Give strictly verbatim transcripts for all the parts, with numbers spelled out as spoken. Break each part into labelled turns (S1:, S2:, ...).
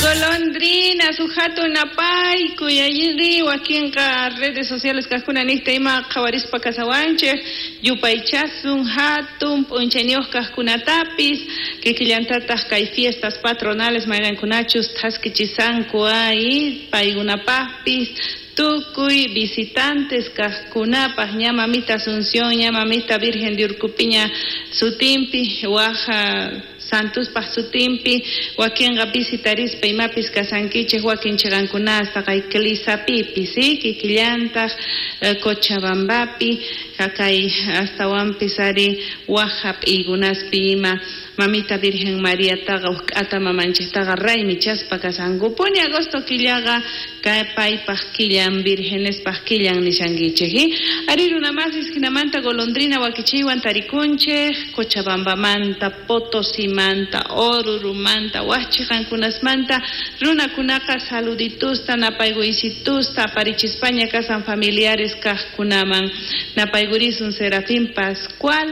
S1: Golondrina, sujato napaykuy ayri wakinqa redes sociales kajkuna niqta ima qhawarispa kasawanchej yupaychasun hatun p'unchayniyuq kajkunatapis kikillantataq kay fiestas patronales mayqankunachus thaskichisanku ay paykunapaqpis tukuy visitantes kajkunapaq ña mamita Asunción, ña mamita Virgen de Urcupiña sutinpi waja Santuspaq sutinpi wakinqa visitarispa imapis kasankichej wakin chiqankunasta kay Clisapipis kikillantaq Cochabambapi kay astawanpis ari waj hap'iykunaspi ima mamita Virgen Mariataqa uj k'ata mamanchiktaqa raymichaspa kasankupuni agosto killaqa kay paypaq killan virgenespaq killan nishankichej ari runamasis jinamanta golondrina wakichiywan tarikunchej Cochabambamanta Potosimanta Orurumanta waj chiqankunasmanta runakunaqa saluditusta napayguysitusta aparichispaña kasan familiares kajkunaman napaygurisun Serafín Pascual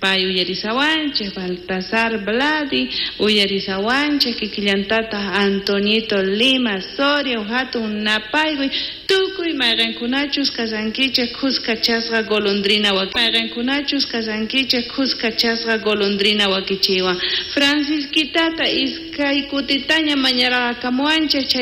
S1: pay uyarisawanchej Baltasar Vladi uyarisawanchej kikillantataq Antonito Lima Soria hatun napayguy tukuy mayqankunachus kasankichej khuskachasqa golondrina mayqankunachus kasankichej khuskachasqa golondrina wakichiwan Francisquitata iskay kutitaña mañaraqakamuwanchej chay